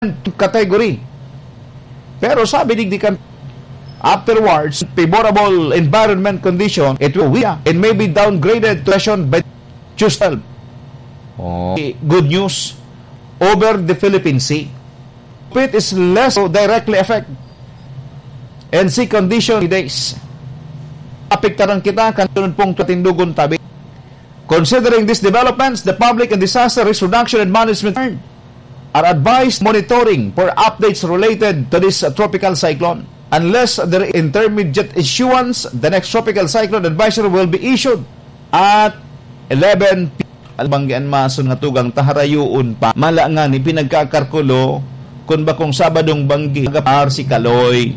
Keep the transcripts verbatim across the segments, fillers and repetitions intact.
category. Pero sabi digdi kan, afterwards, favorable environment condition, it will weaken and may be downgraded to recession by Tuesday. Oh, good news over the Philippine Sea. It is less directly affect and sea condition days. Apektaran kita kan sunod pong tutindugon tabi. Considering these developments, the Public and Disaster Risk Reduction and Management are advised monitoring for updates related to this, uh, tropical cyclone. Unless the intermediate issuance, the next tropical cyclone advisory will be issued at eleven p.m. Albanggian mason nga tugang taharayoon pa. Mala nga ni pinagkakarkulo, kun bakong Sabadong banggi, nagapar si Kaloy.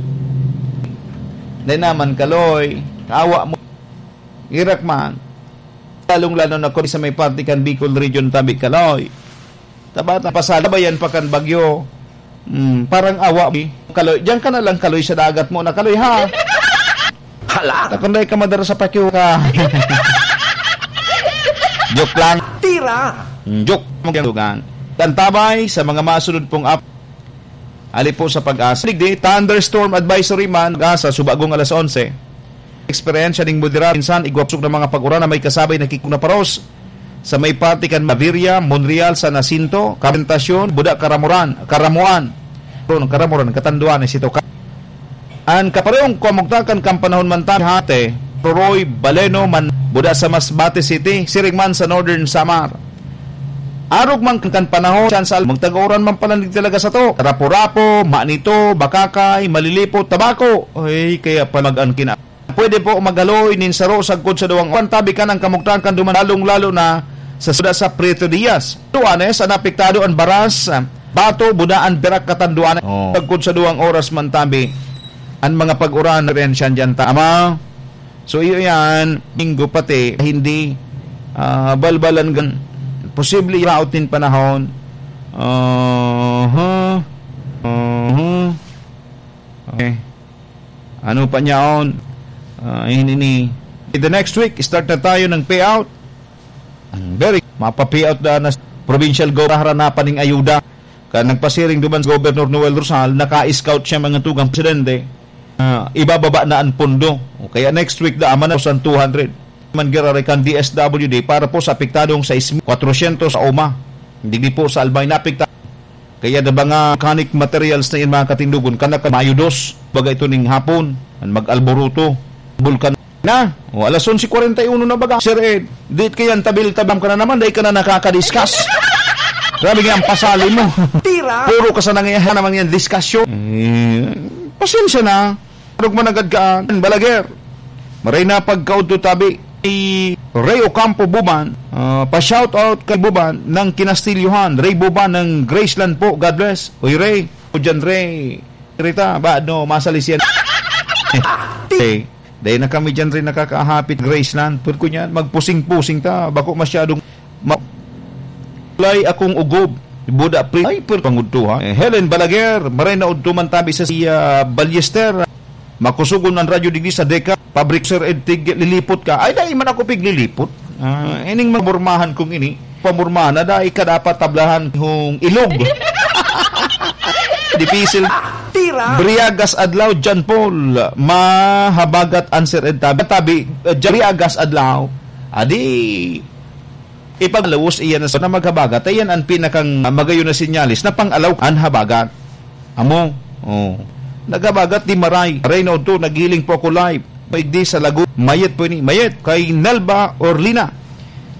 Dai naman, Kaloy, awa mo. Irak man. Lalong-lalo na kung sa may parte kan Bicol Region, tabi, Kaloy. Tabata, pasalabayan pa kan bagyo. Hmm, parang awa, eh. Kaloy, diyan ka na lang, Kaloy, sa dagat mo na, Kaloy, ha? Hala! Takon dai ka madara sa pakyo ka. Joke lang. Tira! Hmm, joke. Magdugang. Tantabay sa mga masunod pong ap-, ali po sa Pag-asa. Digdi, thunderstorm advisory man, Pag-asa, subagong alas onse. Eksperyensya ning moderado, minsan igwa pusog na mga pag-uran na may kasabay na kikog na paros. Sa may parte kan Maviria, Monreal, San Jacinto, Kabentacion, Buda, Karamoran, Karamuan. Ron, Karamoran, Katanduanes, ito ka. An kaparehong kamugtakan kan panahon man ta, Hate, Roroy, Baleno, man, Buda sa Masbate City, siring man sa Northern Samar. Arog man kan panahon, siyan sa al-, magtag-uran man pala talaga sa to. Rapu-Rapu, Manito, Bacacay, Malilipot, Tabaco. Ay, kaya pa mag-an kina-, pwede po magaloy nin saro sagkod sa duwang oras. Tabi kan ang kamugtakan duman, lalong-lalo na sa suda sa Prieto Diaz. Tuanes, an apektado an Baras, Bato, Budaan, Virac, Catanduanes. Oh. Sagkod sa duwang oras man tabi, an mga pag-uran, rensyan dyan ta. Ama, so iyo yan, Linggo pati, hindi, ah, balbalan gan-, posible raot nin panahon. Aha. Aha. Okay. Ano pa niyaon? Ah, ini ni, in the next week, start na tayo ng payout. Ang very, mapa-payout na na provincial government, haranapan ning ayuda. Kan nagpasiring duman si Governor Noel Rosal, naka-scout siya mga tugang presidente. Ah, ibababa na ang pondo. O kaya next week, da, aman na sa two hundred. Man giraray kan D S W D para po sa apektadong sais mil kwatrosyentos sa Oma. Hindi po sa Albay na apekta. Kaya na mga mechanic materials na yan, mga katindugon, kana ka Mayo dos, baga ito ning hapon, an mag-alboroto, bulkan na. O, alas onse kwarenta y uno na baga. Sir Ed, di kaya ang tabil-tabam ka na naman, dahil ka na nakakadiscuss. Grabe nga ang pasali mo. Tira! Puro ka sa nangyayari naman yan, diskusyon. Eh, pasensya na. Anong managad ka, ah? Balaguer. Maray na pagkaudto tabi. Si Rey Ocampo Buban, ah, pa-shoutout kay Buban ng Kinastilyohan. Rey Buban ng Graceland po. God bless. Uy, Rey. O dyan, Rey. Rita, ba, no, masalis yan. Eh, dahil na kami dyan rin nakakahapit Graceland. Pero kunyan, magpusing-pusing ta. Bako masyadong ma-, lay akong ugob. Buda, pre. Ay, pero pangudto, ha? Eh, Helen Balaguer, maray na udto man tabi sa si, ah, Ballester. Makusugon ang radyo digdi sa Deka. Pabrik, Sir Ed, tig-, lilipot ka. Ay, dai man ako piglilipot. Ah, ining mga pamormahan kong ini, pamormahan na dai ka dapat tablahan hong ilog. Dipisil. Tira! Briagas adlaw, John Paul. Mahabagat an Sir Ed tabi. Tabi, eh, Briagas adlaw. Adi, ipaglawas iyan na sa na maghabagat. Ayan ang pinakang magayon na sinyalis na pang-alaw an habagat. Amo, oh. Naghabagat di maray. Aray na udto, naghiling po ako live. Maigdi sa lago. Mayet po ini. Mayet kay Nelva Orlina.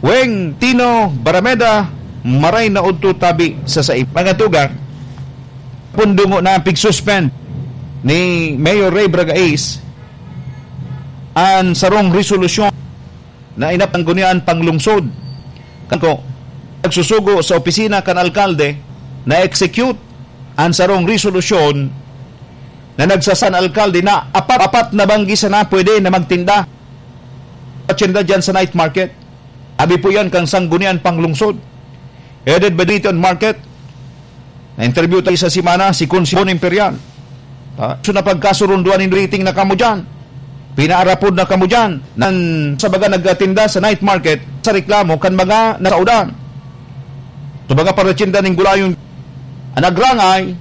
Weng Tino Barameda, maray na udto tabi sa saim. Mga tugang, pundungo na pig-suspend ni Mayor Ray Bragais an sarong resolusyon na inapanggunyan panglungsod. Kan ko, nagsusugo sa opisina kan alkalde na execute an sarong resolusyon na nagsasan alkalde na apat, apat na banggi sana pwede na magtinda. Patinda dyan sa night market. Abi po yan kang sanggunian panglungsod. Headed by Dito and Market. Na-interview tayo sa semana, si Consi Bon Imperial. Ah, so napagkasurunduan nin rating na kamo dyan. Pinaarapod na kamo dyan. Nan, sa baga nagtinda sa night market, sa reklamo, kan mga nasaudan. Sa baga paratinda ning gulayon, ang nagrangay,